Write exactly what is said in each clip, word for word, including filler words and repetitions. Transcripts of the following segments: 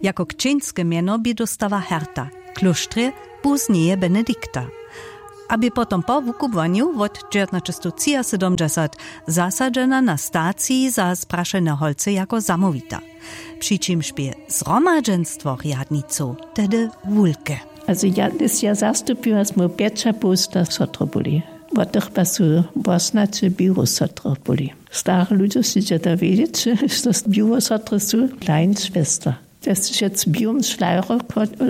Jako kćeńske mjeno bě dóstała Herta, klóštrje pózneje Benedikta, a bě potom po wukubłanju wot dźewjatnaćestowtřiasydomdźesat zasadźena na staciji za zprašene holcy jako zamołwita, při čimž bě zhromadźenstwo rjadnicow tehdy wulke. Also ja, ja zastupiła smy pjećapołsta sotry byli. Wot tych pa su wosnaće biłu sotry byli. Stare ludźo sće da wědźeć, što biłe sotry su kleinschwester. Te su šec w biłym šlajru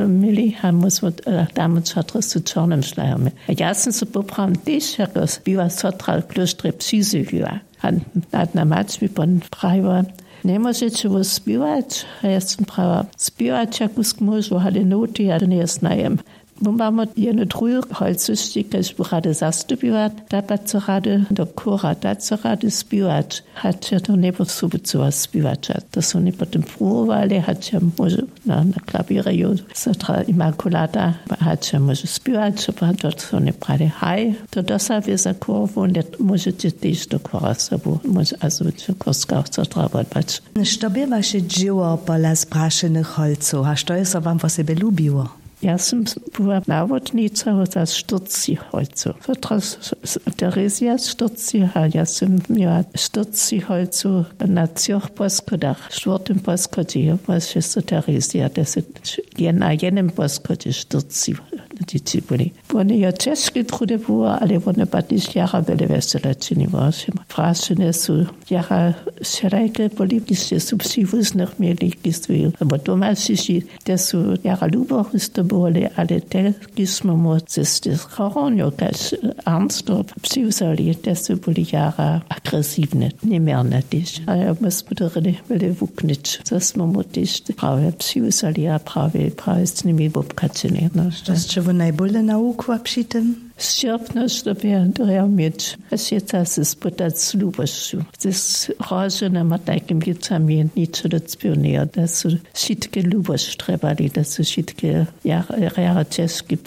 měli a móž wot, damy sotry su w čornym šlajru měli. A ja sym so poprawom tež jako biła sotra w klóštrje přizjewiła. A nadna mać mi pon prajiła: Njemóžeće wój spěwać? A ja sym prajiła: Spěwać ja kusk móžu, ale noty ja njeznajem. Wón mam jednu druhu holcyšći, kaž bu rady zastupiła, ta pak so rady do chóra, ta so rady spěwać. Hač ja to njeposobucyła spěwać, a to su woni potom pruwowali, hač ja móžu na, na klawěrju sotra Immaculata, hač ja móžu spěwać, a to su woni prali: Haj, to dosa wě za chór, wón je, móžeće tež do chóra sobu, móže, a so chórska sotra wotbać. Što bě waše dźěło pola zprašenych holcow a što je so wam wosebje lubiło? Ja sym była nawodnica za štyrci holcow. Sotra Terezija štyrci, a ja sym měła štyrci holcow na třoch poschodach. W štwórtym poschodźi je wosebje Terezija, to su je na jednym poschodźe štyrci dźěći byli. Wone jo ćežke trudy było, ale wone pak tež jara wjele wjesela činiło. Prašene su jara wšelajke byli, kiž su přiwuznych měli, kiž su abo doma přišli, te su jara lubohusto byli, ale te, kiž smy móhli z hornjow kaž arnstwo přiwzali, te su byli jara agresiwne, njeměrne tež. A ja, my smy to rady wjele wuknyć, zo smy móhli tež prawje přiwzali a prawje, prawje z nimi wobchaćili, no. Što sće wój najbóle nawukła při tym? Sćěrpnosć dyrbja měć, a sěca se spytać z lubosću. Z rozumom a tajkim wěcami ničo docpěwnejo, da su wšitke lubosć trjebali, da su wšitke jara, jara ćežki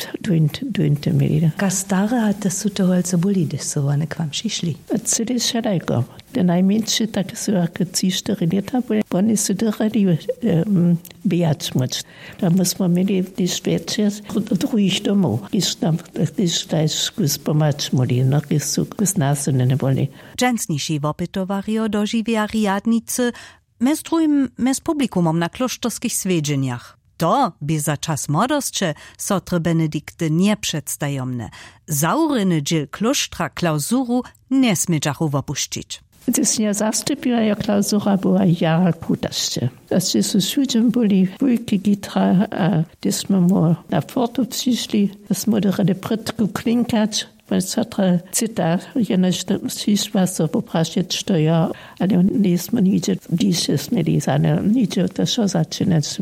dóńty měli. Kaž stare a te su to holcy byli, hdyž su wone k wam přišli? Cyle wšelajko. Te najmjeńši, tak su jako tři štyri lěta byli, woni su dyrjeli, em, běhać móc. Tam my smy měli tež wječor druhich domow, kiž tam, kiž tež kus pomhać móhli, no, kiž su kus nasyne byli. Dźensniši wopytowarjo dožiwja rjadnicy mjez druhim mjez publikumom na klóšterskich swjedźenjach. To bě za čas młodosće sotry Benedikty njepředstajomne. Zawrěny dźěl klóštra klausuru njesmědźachu wopušćić. Hdyž nje zastupiła, jo, klausura była jara krutasće. Hdyž su wšudźe byli wulki gitra a hdyž smy mu na fortu přišli, da smy dyrjeli prědku klinkać, wón sotra cyta, jenož přišła so poprašeć, što jo, ale njejsmy nihdźe bližše směli za nje, nihdźe to wšo začinać.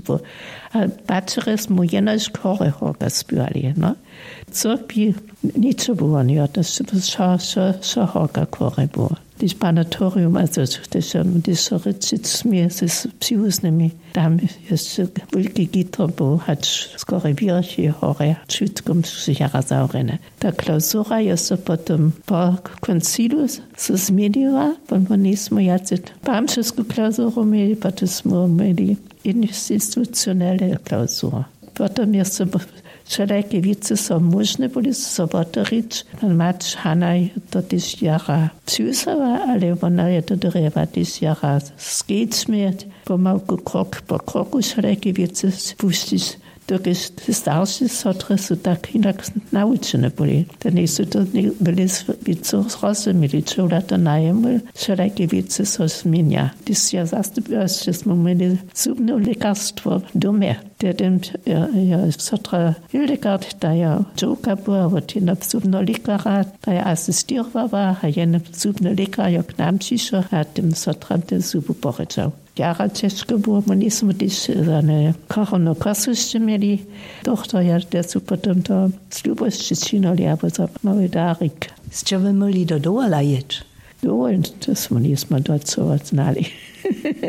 A pačerje smy jenož chóry horka spěwali, no. Co bi ničo było, jo, to wšo, wšo, wšo horka chóry było. Hdyž panatorium, also, hdyž, hdyž so rěčić smě z přiwuznymi, tam je wulki gitr był, hač skoro wěrch je horje, wšitko su jara zawrjene. Ta klausura je so potom po koncilu so změniła, bo my njejsmy wjace pamšesku klausuru měli, potom smy měli institucionelle klausuru. Potom je so wšelajke wěcy so móžne byli so wotewrić. Pan Mać Hanaj to tež jara přiwzała, ale wona je to dyrjała tež jara skedźbnje, pomałku, krok po kroku wšelajke wěcy spušćić, dokelž te starše sotry su tak hinak nawučene byli. Te njejsu to byli wěcy zrozumili, čołla to najemu wšelajke wěcy so změnja. Hdyž ja zastupiła, sće smy měli zubne lěkarstwo w domje. Tehdy je sotra Hildegard, ta jo dźowka była, wot jenoho zubneho lěkarja, ta jo asistirowała a jenoho zubny lěkar jo k nam přišoł a tym sotram te zubu porěčał. Jara ćežko było, my njejsmy tež za ne koronu kosu sće měli. Dochtorja te su potom to z lubosće činili abo za mały darik. Sće wy móhli do dowola jěć? Dowol, to smy njejsmy docoła znali.